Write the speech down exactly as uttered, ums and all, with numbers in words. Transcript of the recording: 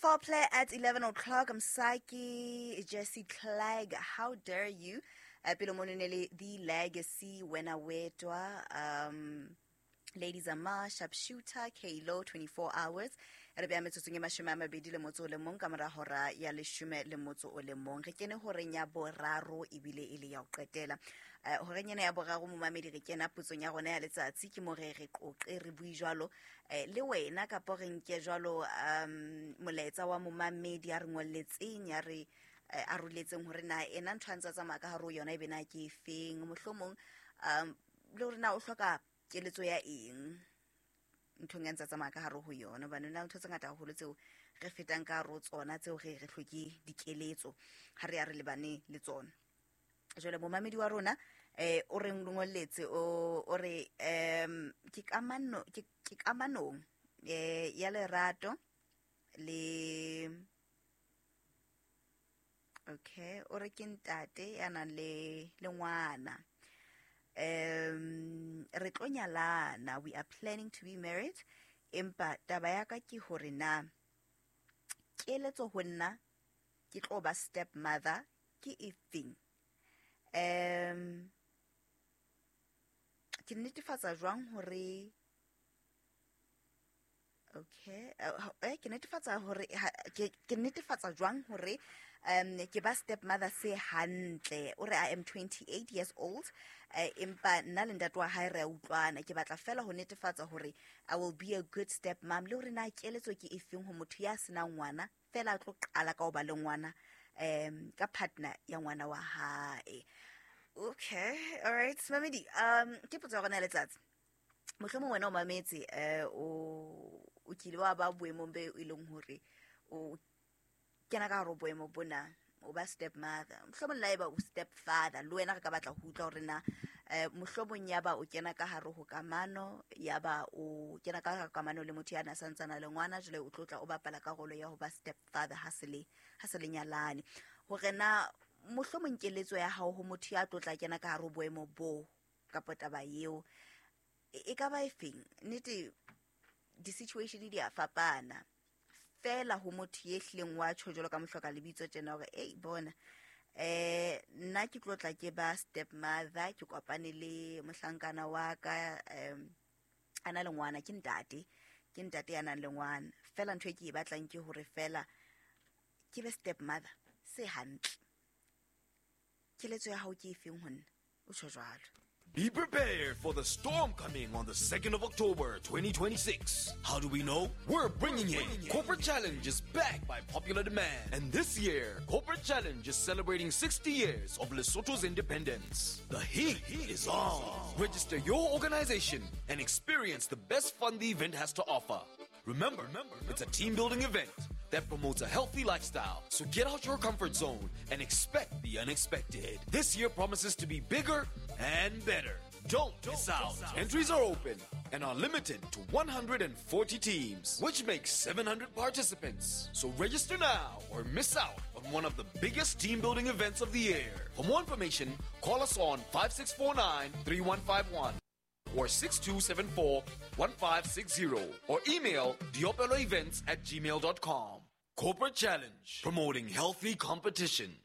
Foul Play at eleven o'clock. Msaki, Jesse Clegg, How Dare You? Uh, pele mono ne le The Legacy, Wena Wetwa, um, Ladies Ama, Sharpshooter, Kalo, twenty-four hours. Re beya metsotsong e mashome a mabedi le motso o le mong ka mora hora ya leshome le motso o le mong. Re kene horeng ya boraro ebile e le ya ho qetela. Eh, horeng ena ya boraro momamedi re kena potsong ya rona ya letsatsi, ke mo re re qoqe re bue jwalo, eh, le wena kapa re nke jwalo, um, molaetsa wa momamedi ya re ngolletseng, ya re, eh, aroletseng hore na ena ntho a ntse a tsamaya ka hare ho yona ebe na ke efeng, mohlomong, um, le hore na o hloka keletso ya eng nthong ya ntse a tsamaya ka hare ho yona, hobane na ntho tse ngata haholo tseo re fetang ka hare ho tsona tseo re re hloke dikeletso ha re ya re lebane le tsona. Jwale momamedi wa rona, eh, o re ngolletse, o, o re, em, ke kamano, ke, ke kamanong, eh, ya lerato le, okay, o re ke ntate ya nang le, le ngwana. Um, re tlo nyalana, we are planning to be married, empa taba ya ka ke hore na keletso ho nna ke tlo ba stepmother ke efeng? Um, ke netefatsa jwang hore, okay, eh, eh, ke netefatsa hore, ha, ke, ke netefatsa jwang hore, um, ke ba stepmother se hantle? O re I am twenty-eight years old, eh, empa nna le ntate wa hae re a utlwana. Ke batla fela ho netefatsa hore I will be a good stepmom, le hore na keletso ke efeng ho motho ya senang ngwana, fela a tlo qala ka ho ba le ngwana, um, ka partner ya ngwana wa hae. Okay, all right, Mamedi, um, ke potso ya rona ya letsatsi. Mohlomong wena o mametse, eh, o, o kile wa ba boemong be e leng hore o kena ka hare ho boemo bona, o ba stepmother, mohlomong le haeba o stepfather, le wena re ka batla ho utlwa hore na, eh, mohlomong ya ba o kena ka hare ho kamano, ya ba o kena ka hare ho kamano le motho ya na santsana le ngwana, jwale o tlo tla o bapala karolo ya ho ba stepfather ha se le, ha se le nyalane. Hore na mohlomong keletso ya hao ho motho ya tlo tla kena ka hare ho boemo bo kapa taba eo e ka ba efeng? Nnete di-situation di a fapana fela ho motho ye hlileng wa tjho jwalo ka mohloka lebitso tjena hore, ei, bona, eh, nna ke tlo tla ke ba stepmother, ke kopane le mohlankana wa ka, em, a na le ngwana, ke ntate, ke ntate ya nang le ngwana. Fela ntho e ke e batlang ke hore fela ke be stepmother se hantle. Keletso ya hao ke efeng ho nna? O tjho jwalo. Be prepared for the storm coming on the second of October, twenty twenty-six. How do we know? We're bringing it. Corporate Challenge is back by popular demand. And this year, Corporate Challenge is celebrating sixty years of Lesotho's independence. The heat is on. Register your organization and experience the best fun the event has to offer. Remember, it's a team-building event that promotes a healthy lifestyle. So get out your comfort zone and expect the unexpected. This year promises to be bigger and better. Don't miss out. Entries are open and are limited to one hundred and forty teams, which makes seven hundred participants. So register now or miss out on one of the biggest team-building events of the year. For more information, call us on five six four nine, three one five one or six two seven four, one five six zero or email diopeloevents at gmail dot com. Corporate Challenge, promoting healthy competition.